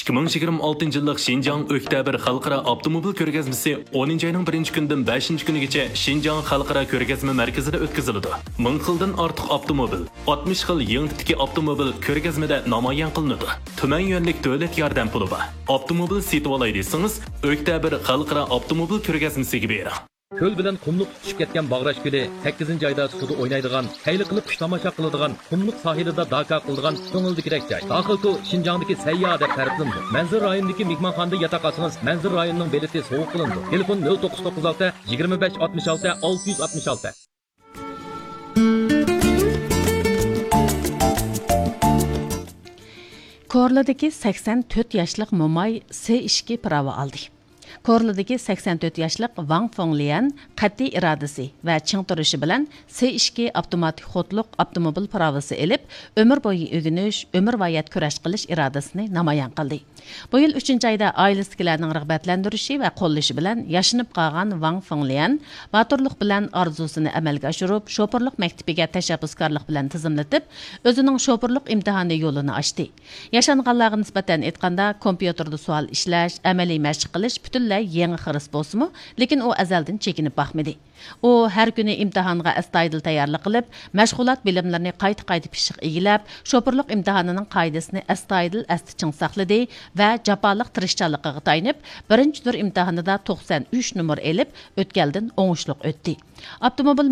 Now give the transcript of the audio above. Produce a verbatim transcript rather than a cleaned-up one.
ئىككى مىڭ يىگىرمە ئالتىنچى يىللىق شىنجاڭ ئۆكتەبىر خەلقئارا ئاپتوموبىل كۆرگەزمىسى ئونىنچى ئاينىڭ بىرىنچى كۈنىدىن بەشىنچى كۈنىگىچە شىنجاڭ خەلقئارا كۆرگەزمە مەركىزىدە ئۆتكۈزۈلىدۇ. مىڭ خىلدىن ئارتۇق ئاپتوموبىل، ئاتمىش خىل يېڭى تىپتىكى ئاپتوموبىل كۆرگەزمىدە نامايان قىلىنىدۇ. تۈمەن يۈەنلىك دۆلەت ياردەم پۇلى بار. ئاپتوموبىل سېتىۋالاي دېسىڭىز، ئۆكتەبىر خەلقئارا ئاپتوموبىل كۆرگەزمىسىگە بېرىڭ. كۆل بىلەن قۇملۇق تۇتىشىپ كەتكەن باغراش كۆلى، سەككىزىنچى ئايدا سۇدا ئوينايدىغان، خەيلى قىلىپ قۇش تاماشا قىلىدىغان، قۇملۇق ساھىلىدا داكا قىلىدىغان كۆڭۈلدىكىدەك جاي. داخىل تۇ شىنجاڭدىكى سەيياھ دەپ تەرىپلىنىدۇ. مەنزىرە رايونىدىكى مېھمانخانىدا ياتاق ئالسىڭىز، مەنزىرە رايونىنىڭ بېلىتى سوۋغا قىلىنىدۇ. تېلېفون: نۆل توققۇز توققۇز ئالتە، يىگىرمە بەش ئاتمىش ئالتە، ئالتە يۈز ئاتمىش ئالتە. كورلىدىكى سەكسەن تۆت ياشلىق موماي سې ئىككى پىراۋى ئالدى. كورلىدىكى سەكسەن تۆت ياشلىق ۋاڭ فېڭليەن قەتئىي ئىرادىسى ۋە چىڭ تۇرۇشى بىلەن سې ئىككى ئاپتوماتىك خوتلۇق ئاپتوموبىل پىراۋىسى ئېلىپ، ئۆمۈر بويى ئۆگىنىش، ئۆمۈرۋايەت كۈرەش قىلىش ئىرادىسىنى نامايان قىلدى. بۇ يىل ئۈچىنچى ئايدا ئائىلىسىدىكىلەرنىڭ رىغبەتلەندۈرۈشى ۋە قوللىشى بىلەن ياشىنىپ قالغان ۋاڭ فېڭليەن باتۇرلۇق بىلەن ئارزۇسىنى ئەمەلگە ئاشۇرۇپ، شوپۇرلۇق مەكتىپىگە تەشەببۇسكارلىق بىلەن تىزىملىتىپ، ئۆزىنىڭ شوپۇرلۇق ئىمتىھانى يولىنى ئاچتى. ياشانغانلارغا نىسبەتەن ئېيتقاندا، كومپيۇتېردا سوئال ئىشلەش، ئەمەلىي مەشىق قىلىش پۈتۈنلەي يېڭى خىرىس بولسىمۇ، لېكىن ئۇ ئەزەلدىن چېكىنىپ باقمىدى. ئۇ ھەر كۈنى ئىمتىھانغا ئەستايىدىل تەييارلىق قىلىپ، مەشغۇلات بىلىملىرىنى قايتا-قايتا پىششىق ئىگىلەپ، شوپۇرلۇق ئىمتىھانىنىڭ قائىدىسىنى ئەستايىدىل ئەستە چىڭ ساقلىدى ۋە جاپالىق تىرىشچانلىقىغا تايىنىپ، بىرىنچى تۈر ئىمتىھانىدا توقسان ئۈچ نومۇر ئېلىپ، ئۆتكەلدىن ئوڭۇشلۇق ئۆتتى. ئاپتوموبىل